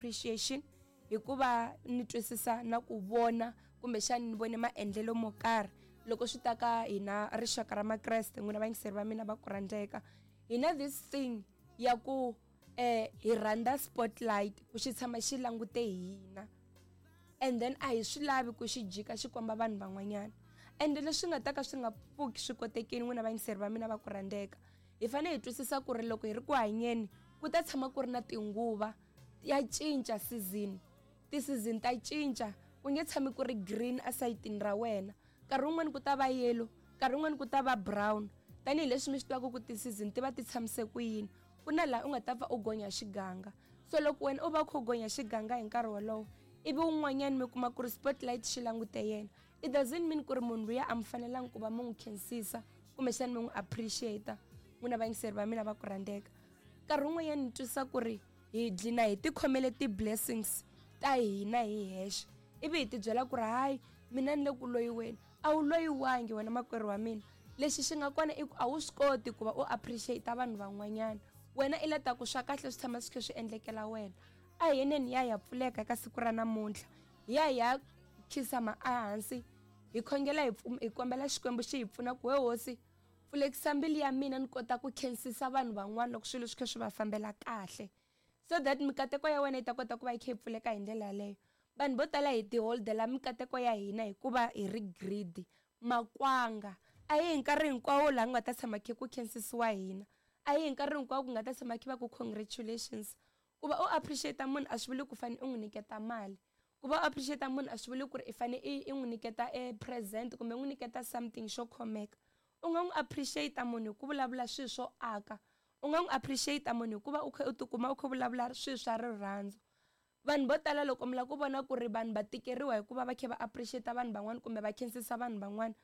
Appreciation hikuva ni twisisa na ku vona kumbexani ni vone maendlelo mo karhi loko swi ta ka hina rixaka ra makreste n'wina vayingiseri va mina va ku rhandzeka hi na this thing ya ku eh hi rhandza spotlight ku xi tshama xi langute hina and then a hi swi lavi ku xi jika xi komba vanhu van'wanyana ende leswi nga ta ka swi nga pfuki swi kotekini n'wina vayingiseri va mina va ku rhandzeka hi fanele hi twisisa ku ri loko hi ri ku hanyeni ku ta tshama ku ri na tinguva ya cinca season ti-season ta cinca ku nge tshami ku ri green esayitini ra wena nkarhi wun'wani ku ta va yellow nkarhi wun'wani ku ta va brown tanihileswi mi swi tivaka ku ti-season ti va ti tshamise ku yini ku na laha u nga ta pfa u gonya xiganga so loko wena u va u kha u gonya xiganga hi nkarhi wolowo ivi wun'wanyana mi kuma ku ri spotlight xi langute yena it doesn't mean ku ri munhu luya a mi fanelangi ku va mi n'wi khensisa kumbexana mi n'wi appreciate n'wina vayingiseri va mina va ku rhandzeka nkarhi wun'wanyana ni twisisa ku ri hi dlina hi tikhomele ti-blessings ta hina hi hexe ivi hi tibyela ku ri hayi mina ni le ku loyiweni a wu loyiwangi wena makwerhu wa mina lexi xi nga kona i ku a wu swi koti ku va u appreciate vanhu van'wanyana wena i la ta ku swa kahle swi tshama swi kha swi endlekela wena a hi yeneni ya ya pfuleka eka siku ra namuntlha hi ya hi ya khisama ehansi hi khongela hi kombela xikwembu xi hi pfuna ku we hosi Pfulekisa mbilu ya mina ni kota ku khensisa vanhu van'wana loko swilo swi kha swi va fambela kahle so that mikateko ya wena yi ta kota ku va yi kha yi pfuleka hi ndlela yaleyo. Vanhu vo tala hi tiholdela mikateko ya hina hikuva hi ri greedy, makwanga. A hi hi nkarhi hinkwawo laha ku nga ta tshama khe ku khensisiwa hina, a hi hi nkarhi hinkwawo ku nga ta tshama khe va ku congratulations. Ku va u appreciate munhu a swi vuli ku fane u n'wi nyiketa mali. Ku va u appreciate munhu a swi vuli ku ri i fane i i n'wi nyiketa e present kumbe u n'wi nyiketa something xo khomeka. U nga n'wi appreciate munhu hi ku vulavula swilo swo aka. U nga n'wi appreciate munhu hi ku va u kha u tikuma u kha u vulavula swilo swa rirhandzu. Vanhu vo tala loko mi lava ku vona ku ri vanhu va tikeriwa hi ku va va kha va appreciate vanhu van'wana kumbe va khensisa vanhu van'wana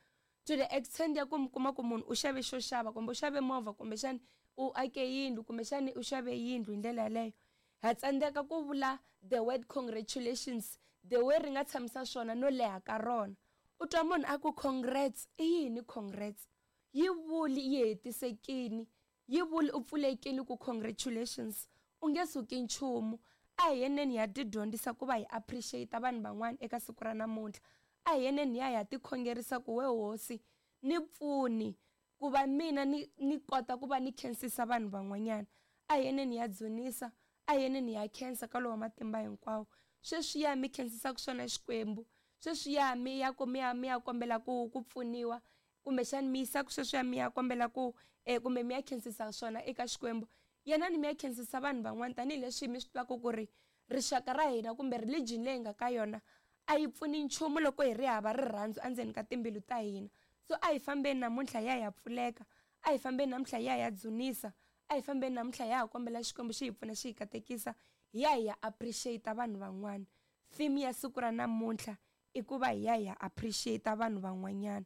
to the extent ya ku mi kuma ku munhu u xave xo xava kumbe u xave movha kumbexani u ake yindlu kumbexani u xave yindlu hi ndlela yaleyo ha tsandzeka ku vula the word congratulations the way ri nga tshamisa swona no leha ka rona u twa munhu a ku congrats i yini congrats yi vuli yi hetisekini Yi vuli u pfulekile ku congratulations u nge suki nchumu. A hi yeneni hi ya ti dyondzisa ku va hi appreciate vanhu van'wana eka siku ra namuntlha. A hi yeneni hi ya hi ya ti khongerisa ku we hosi ni pfuni ku va mina ni ni kota ku va ni khensisa vanhu van'wanyana. A hi yeneni hi ya dzunisa, a hi yeneni hi ya khensa ka lowa matimba hinkwawo. Sweswiya mi khensisaka swona Xikwembu, sweswiya mi ya ku mi ya mi ya kombela ku ku pfuniwa kumbexani mi yisaka sweswiya mi ya kombela ku e kumbe mi ya khensisa swona eka Xikwembu, yanani mi ya khensisa vanhu van'wana tanihileswi mi swi tivaka ku ri rixaka ra hina kumbe religion leyi hi nga ka yona a yi pfuni nchumu loko hi ri hava rirhandzu endzeni ka timbilu ta hina. So a hi fambeni namuntlha hi ya hi ya pfuleka, a hi fambeni namuntlha hi ya hi ya dzunisa, a hi fambeni namuntlha hi ya ha kombela Xikwembu xi hi pfuna xi hi katekisa hi ya hi ya appreciate vanhu van'wana. Theme ya siku ra namuntlha i ku va hi ya hi ya appreciate vanhu van'wanyana.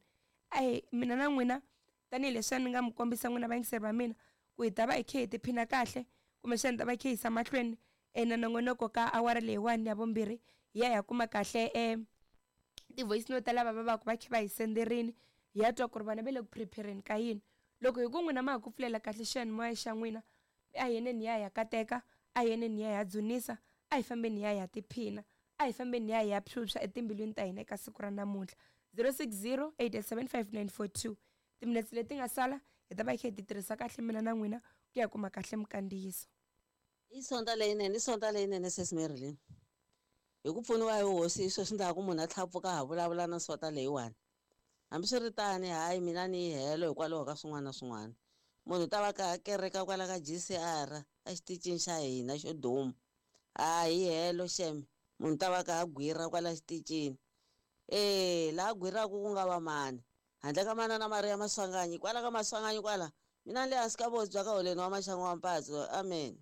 A mina na n'wina tanihileswi a ni nga mi kombisa n'wina vayingiseri va mina ku hi ta va hi khe hi tiphina kahle kumbexana hi ta va hi khe hi yisa mahlweni e na nongonoko ka awara leyiwani ya vumbirhi hi ya hi ya kuma kahle e ti-voice note ta lava va va ku va khe va hi senderini hi ya twa ku ri vona va le ku prepare-ni ka yini loko hi ku n'wina ma ha ku pfulela kahle xiyanimoya xa n'wina a hi yeneni hi ya hi ya kateka a hi yeneni hi ya hi ya dzunisa a hi fambeni hi ya hi ya tiphina A hi fambeni hi ya hi ya phyuphya etimbilwini ta hina eka siku ra namuntlha. 060 887 5942. Timinetse leti nga sala hi ta va hi kha hi ti tirhisa kahle mina na n'wina ku ya kuma kahle minkandziyiso. I Sonta leyinene, i Sonta leyinene Sis Marilyn. Hi ku pfuniwa hi Hosi hi sweswi ndza ha ku munhu a tlhela a pfuka a ha vulavula na Sonta leyiwani. Hambiswiritano, hayi mina ni yi helo hikwalaho ka swin'wana na swin'wana. Munhu u ta va ka kereka kwala ka GCR exitichini xa hina xo duma. Ha hi helo xem, munhu ta va ka a gwira kwala xitichini. E, laha gwiraka ku nga va mani? Handle ka manana Mariya Maswanganyi, kwala ka Maswanganyi kwala, mina ni le hansi ka vosi bya ka Holeni wa Maxangu wa Mpatso. Amen.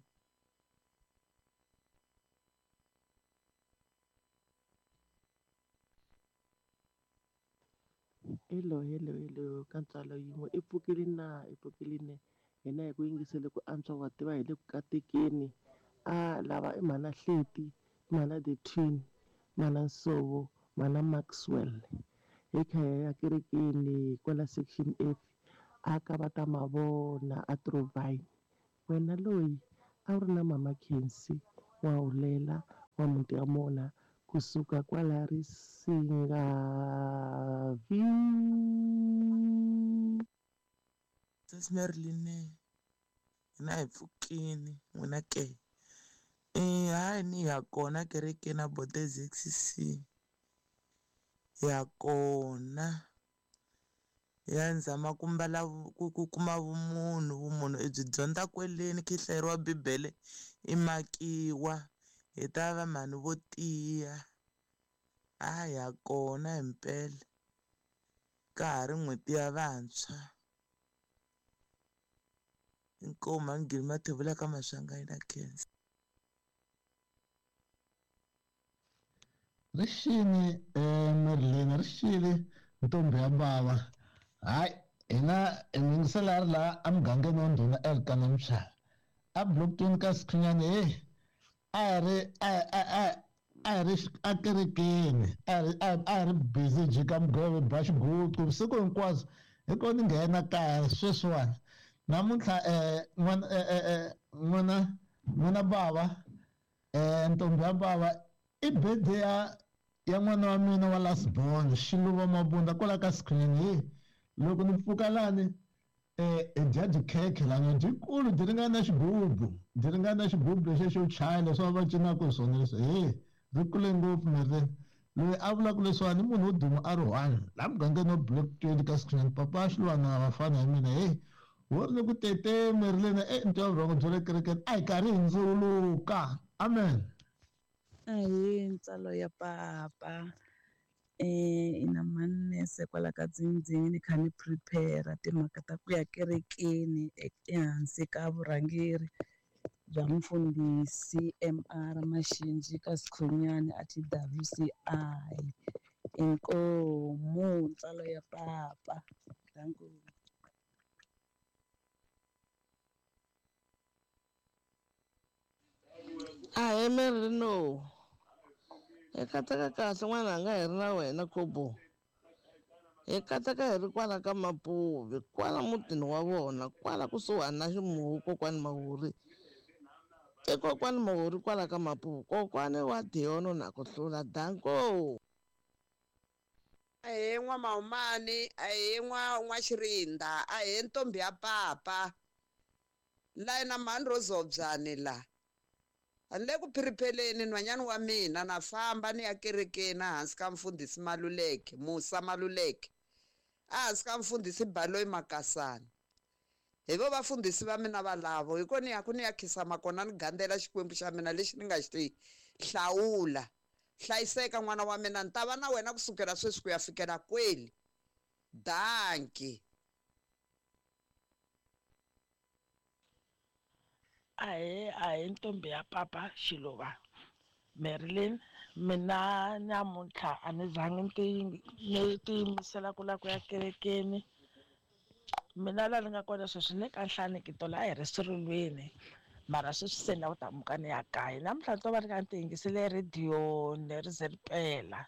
Hello hello hello ka ntswalo yin'we i pfukile na i pfukile ne hina hi ku yingisele ku antswa wa tiva hi le ku katekeni a lava i mhana Hleti mhana the twin mhana Nsovo mhana Maxwell hi kha hi ya kerekeni kwala section F a ka va ta mavona a Trovine wena loyi a wu ri na mama Khensi wa hulela. N'wamuti ya Mona kusuka kwala Risingavi. Sesi Marilyn hina hi pfukini n'wina ke hayi ni ya kona kerekeni a Bote ZCC ya kona ya ni zama ku mbala ku kuma vumunhu vumunhu i byi dyondza kweleni khe hlayeriwa bibele i makiwa hi ta va mhani vo tiya a ya kona himpela ka ha ri n'hweti ya vantshwa inkomu mhani Mathebula ka Maswanganyi na khensa. Ri xini Marilyn ri xile ntombi ya bava hayi hina hi yingisela a ri laha emugangeni wa ndhuna Elkana Mtshali a Blockton ka Sikhunyani he a hi ri a a hi ri ekerekeni a hi a hi ri busy jika mugove ba xiguqu vusiku hinkwabyo hi ko ni nghena kaya sweswiwani namuntlha n'wana n'wana n'wana bava ntombi ya bava i birthday ya ya n'wana wa mina wa last born Xiluva Mabunda kwala ka Sikhunyani he loko ni pfuka lani hi dya tikhekhe lani dyikulu byi ringana na xigubu byi ringana na xigubu lexiya xo chaya leswi va cinaka hi swona leswi he ri kule ngopfu Marilyn loyi a vulaka leswiwani i munhu wo duma a ri one laha mugangeni wa Block 20 ka Sikhunyani papa Xiluva vafana hi mina he wo ri ni ku tete Marilyn e ntwa vurhongo bya le kerekeni a hi karhi hi ndzuluka amen. Ahee ntswalo ya papa ina manese kwala ka Dzindzini ni kha ni prepare timhaka ta ku ya kerekeni ehansi ka vurhangeri bya mufundhisi M_R Mashinji ka Sikhunyani a T_W_C_I inkomu ntswalo ya papa danko. Ahee Merino hi kateka kahle n'wananga hi ri na wena Khobo hi kateka hi ri kwala ka Mapuve kwala mutini wa vona kwala kusuhani na ximuwu kokwani Mawuri i kokwani Mawuri kwala ka Mapuve kokwani wa Diono na ku hlula danko. Ahee N'wa-Mahumani ahee N'wa-Xirinda ahee ntombi ya papa la na mhani Rozobyani la a ni le ku phiripheleni nhwanyana wa mina na famba ni ya kerekeni ehansi ka mfundhisi Maluleke Musa Maluleke ehansi ka mfundhisi Baloyi Makasani hi vo vafundhisi va mina valavo hi ko ni ya ku ni ya khisama kona ni gandzela Xikwembu xa mina lexi ni nga xi hlawula hlayiseka n'wana wa mina ni ta va na wena kusukela sweswi ku ya fikela kweli danki. Ahee ahee ntombi ya papa Xiluva Marilyn mina namuntlha a ni zangi ni tiyimisela ku lava ku ya kerekeni mina laha ni nga kona sweswi ni le ka Nhlaneki tolo a hi ri swirilweni mara sweswi se ni lava ku ta muka ni ya kaya namuntlha ni to va ni kha ni ti yingisele rhediyo ni ri ze ri pela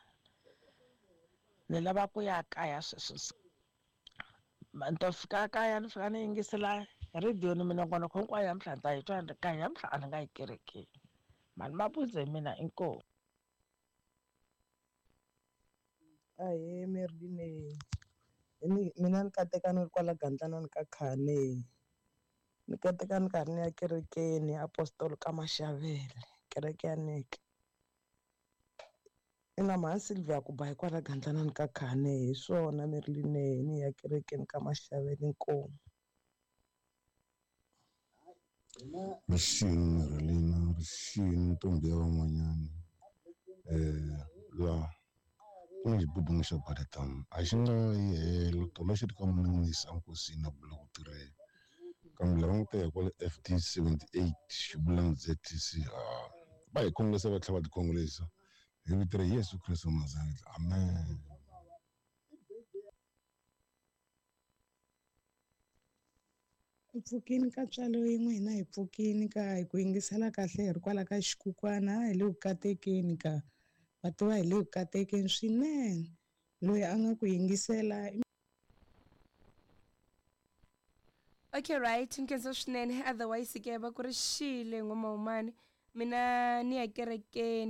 ni lava ku ya kaya sweswi ni to fika kaya ni fika ni yingisela rhediyo ni minongonoko hinkwayo namuntlha ni ta yi twa ni ri kaya namuntlha a ni nga yi kerekeni mani mabundzu hi mina inkomu. Ahee Marilyn mina ni kateka ni ri kwala Gandlana ka Khane ni kateka ni karhi ni ya kerekeni Apostol ka Maxavele kereke ya Neke ina mhani Sylvia ku ba hi kwala Gandlana ka Khane hi swona Marilyn ni ya kerekeni ka Maxavele inkomu. Rixini Marilyn rixini ntombi ya van'wanyana laha ku na xibubungu xa Baletang a xi nga yi helo tolo xi ri ka Munisi enkosini a bula ku tirhela kambe lava nga ta ya kwale FD 78 xi vula ZTC va hi khongolisa va tlhela va tikhongolisa hi vito ra Yesu Kreste wa Nazareta amen. Hi pfukini ka ntswalo yin'we hina hi pfukini ka hi ku yingisela kahle hi ri kwala ka xikukwana hi le ku katekeni ka va tiva hi le ku katekeni swinene loyi a nga ku yingisela. Okay right nkhensa swinene otherwise ke va ku ri xile N'wa-Mahumani mina ni ya kerekeni.